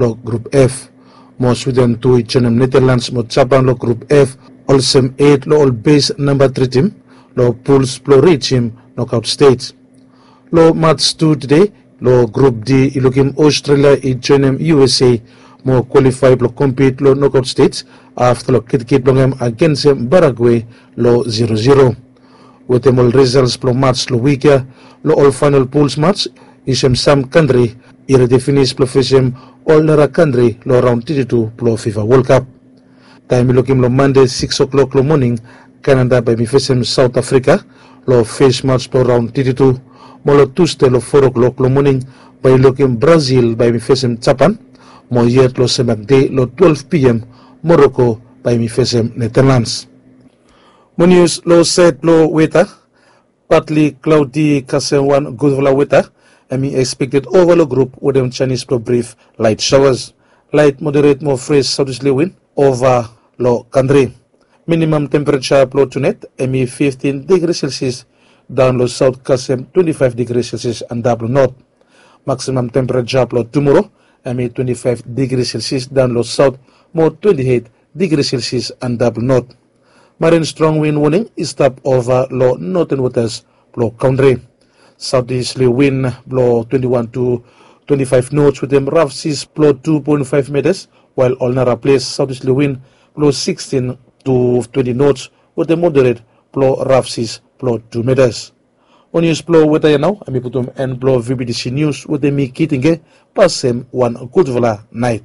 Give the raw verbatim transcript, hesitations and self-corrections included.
lo grup F. Mo Swiden tu i joinim Netherlands mo Japan lo grup F, olsem et lo ol bes namba tri tim lo puls blo rijim nokaot stej. Lo mats tu tede, lo grup D i lukim Australia i joinim U S A mo kwalifae blo kompit lo nokaot stej afta lo kitkit blong hem agensem Paraguay lo zero zero. Wetem ol risals blo mats lo wik ya, lo ol faenol puls mats i sem sam kantri i redi finis blo fesem ol nara kantri lo raon teti tu blo FIFA World Cup. Taem i lukim lo Mande siks o'klok lo moning, Kanada bae mi fesem Saot Afrika lo fes mats blo raon teti tu. Mo lo Tusde lo fo o'klok lo moning bae i lukim Brazil bae mi fesem Japan. Mo yet lo semak dei lo twelve P M, Moroko bae mi fesem Netherlands. Mo nius lo saed blo weta, partly cloudy kasem wan gudfala weta hem i expected ova lo grup wetem janis blo brif light showers. Light moderate mo fres saotwesterly win ova lo kantri. Minimum temperature blo tunait hem i fiftin digri Celsius daon lo saot kasem twenti faef digri Celsius antap lo not. Maximum temperature blo tumoro hem i twenti faef digri Celsius daon lo saot mo twenti eit digri Celsius antap lo not. Marin strong win woning i stap ova lo noten wotas blo kantri. Saotwesterly win blo twenti wan tu twenti faef nots wetem raf sis blo tu poen faef metas, wael ol nara ples saotwesterly win blo sikstin tu twenti nots wetem moderet blo raf sis blo tu metas. Mo nius blo weta ya nao hem i putum en blo V B T C nius wetem mi Kitinge. Pasem wan gudfala naet.